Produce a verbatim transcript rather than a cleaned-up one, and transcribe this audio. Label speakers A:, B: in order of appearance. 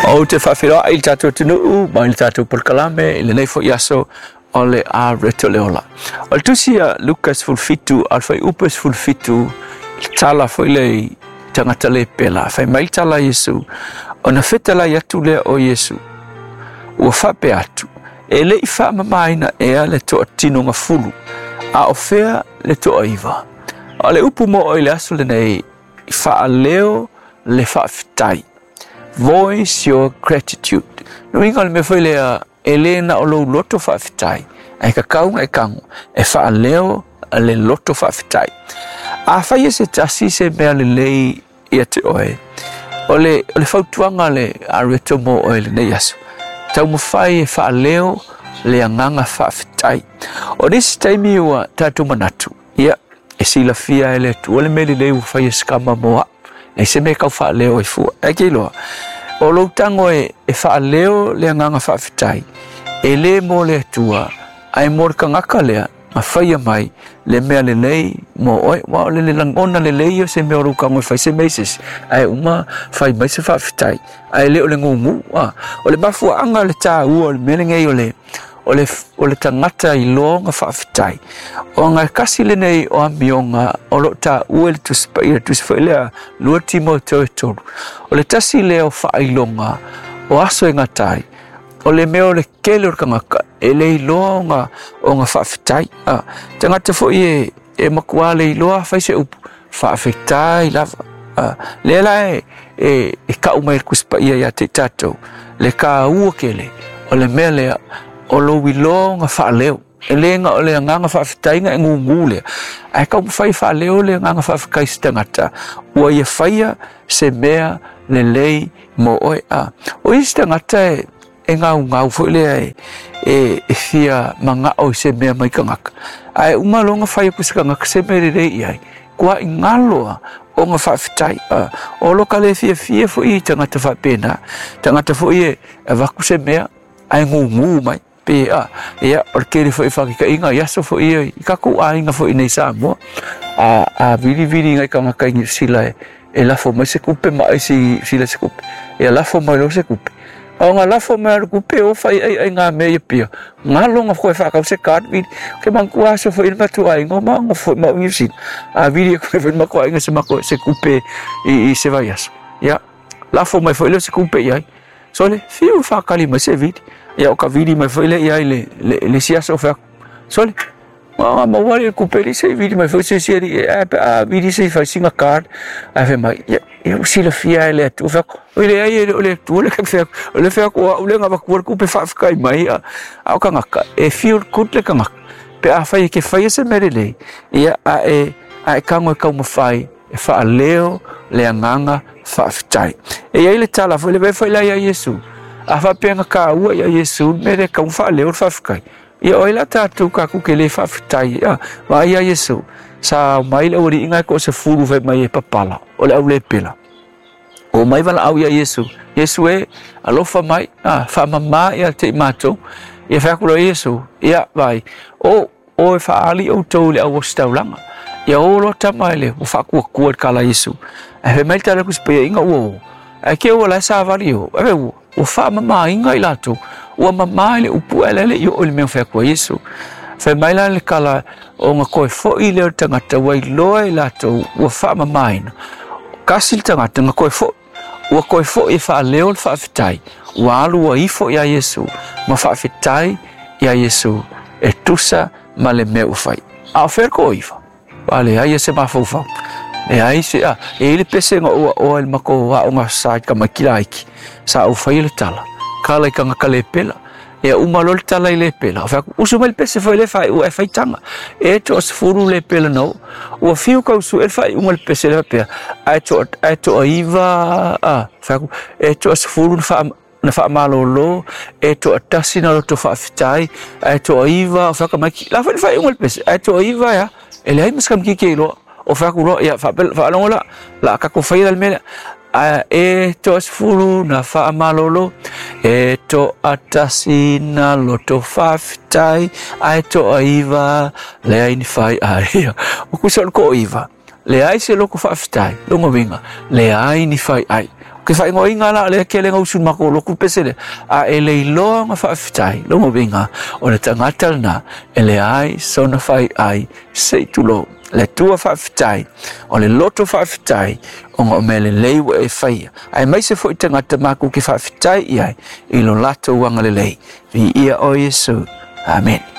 A: Ou te faafeiloai i le tatou atunuu ma i le tatou polokalame i lenei foi aso o le Areto le Ola. O le tusi a Luka sefulu fitu a le fuaiupu sefulu fitu, le tala foi le i tagata le pela. Fai mai le tala a Iesu, ona fetalai atu lea o Iesu, ua faapea atu, e le i faamamaina ea le toatinogafulu, a o fea le toaiva? O le upu mo i le aso lenei, faaleo le faafetai. Voice your gratitude. No inga le mea foi lea, e le na o lou loto faafetai, ae kakau e kango, e faaleo le loto faafetai. A fai e se tasi se mea lelei ia te oe, o le, o le fautuaga le areto mo oe lenei aso, taumafai e faaleo le agaga faafetai. O nisi taimi ua tatou manatu, ia, e silafia e le Atua le mea lelei ua fai e se kama mo au, e se mea kau faaleo ai fua. Ae ke iloa, o lou tago e, e faaleo le agaga faafetai, e le mo le Atua, ae mo le kagaka lea, ma faia mai le mea lelei mo oe. Ua o le le lagona lelei o se mea o lou kago e fai se mea i se isi, ae uma fai mai se faafetai, ae le o le gugu. A. O le mafuaaga o le tāua o le mea lenei o le o le, o le tagata i loga faafetai. O ngā kasi lenei o amioga o lo tāua i le Tusi Paia, le tusi foi lea lua Timoteo e tolu. O le tasi lea o faailoga o aso e gatai, o le mea o le kele o le kangaka, e le iloa o ngā, o ngā faafetai. Ah, tagata foi e, e makua le iloa fai se upu, faafetai lava. Ah, lea la e, e, e kau mai le Tusi Paia ia te tatou, le kāua kele, o le mea lea, o lou iloa nga faaleo. E le nga o le agaga faafetaiga e gugu lea, ae taumafai faaleo le agaga faafetai se tagata ua ia faia se mea lelei mo oe. A o isi tagata e e gaugau foi lea e, e, e fia magao i se mea mai kagaka, ae uma loga fai aku se kagaka se mea lelei i ai, kua i galoa o nga faafetai. A o lo ka le fiafia foi i tagata faapena, tagata foi e avaku se mea ae gugu mai pe a ia o le kele foi whakikaiga i aso foi ia i kakou aiga foi nei Samoa a a vilivili ngai kagaka i Niu Sila e e lafo mai se kupe ma ai si sila se kupe e lafo mai lo se kupe o nga lafo mai le kupe o fai ai ai ngā mea ia pia ngā longa koe whakau se card vili ke manku aso foi le matu aiga ma nga foi ma Niu Sila a vili koe foi ma ko aiga se mako se kupe i, i se vai aso ia lafo mai foi le se kupe i ai so le fiu whakali mai se vili ia o ka vili mai foi le ia i le, le, le si aso whaku. Sole, ma ma wale kupe li se vili mai foi se si ali e a vili se fai singa card a fe mai ia ia sila fia le atu whaku. O le ai o le tu le ka whaku. O le whaku o le ngā waku kupe whaafkai mai a a o kangaka e feel good le kangaka. Pe a whai ke whai se mere le ia a e a e kango e kaumawhai e whaaleo le anganga faafetai. E ia i le tala foi le ve foi la ia Iesu. A whapenga ka ua ia Iesu me le kau whaaleo le faafetai. Ia oi la tātou ka ku ke le faafetai. Ia, ma ia Iesu. Sa mai le ori inga ko se furu fai mai e papala. O le au le pela. O mai wala au ia Iesu. Iesu e alofa mai, a whaamama ia te i mātou. Ia whaakura Iesu. Ia vai. O o e whaali o tau le au o staulanga. Ia o lo tama le o whaakua kua kala Iesu. E fe mai tala kuspea inga ua o. E ke ua la sa vali o. E ua ua whaamama inga i lātou. Ua mama i le upu e lele i o le mea whaakua Iesu. Fe mai la le kala o ngā koe foi le o tangata ua iloa i lātou ua whaamama ina. Kasi le tangata ngā koe foi. Ua koe foi e whaaleo le faafetai. Ua alu ua ifo ia Iesu. Ma faafetai ia Iesu. E tusa ma le mea ua fai. A o whea ko iwa. Wale ai e se mafaufau. E ai se a, e ile pese nga ua oa le mako wa o ngā sa ka makila aiki. Sa au whai le tala. Kala i ka ngā kale pela. E uma lo le tala i le pela. O whaku, usu mai le pese fo i le whai ua e whaitanga. E to asfuru le pela nau. Ua fiu kau su e whai unga le pese le whapea. Ai to, ai to aiva, a, whaku, e to asfuru na na whaamalolo, e to atasi na loto whaafetai, ai to aiva, o whaka mai, la whai whai unga le pese, ai to aiva ya, e le ai maskam ki ke loa, o whaku loa, ia, whaalongo la, la kako whai la le mea, a e to asfuru na whaamalolo, e to atasi na loto whaafetai, ai to aiva, le ai ni whai ai, o kusa o ko iva, le ai se loko whaafetai, longo winga, le ai ni whai ai, Ke whaingoa la le ke le ngausu mako loku pese le a e le iloa nga whaafetai longa winga o le tangata lena e le ai sona whai ai se tulo le tua whaafetai o le loto whaafetai o ngā mele leiwa e whaia ai mai se fo i tangata maku ke whaafetai i ai i lo lato wanga le lei vi ia o Yesu. Amen.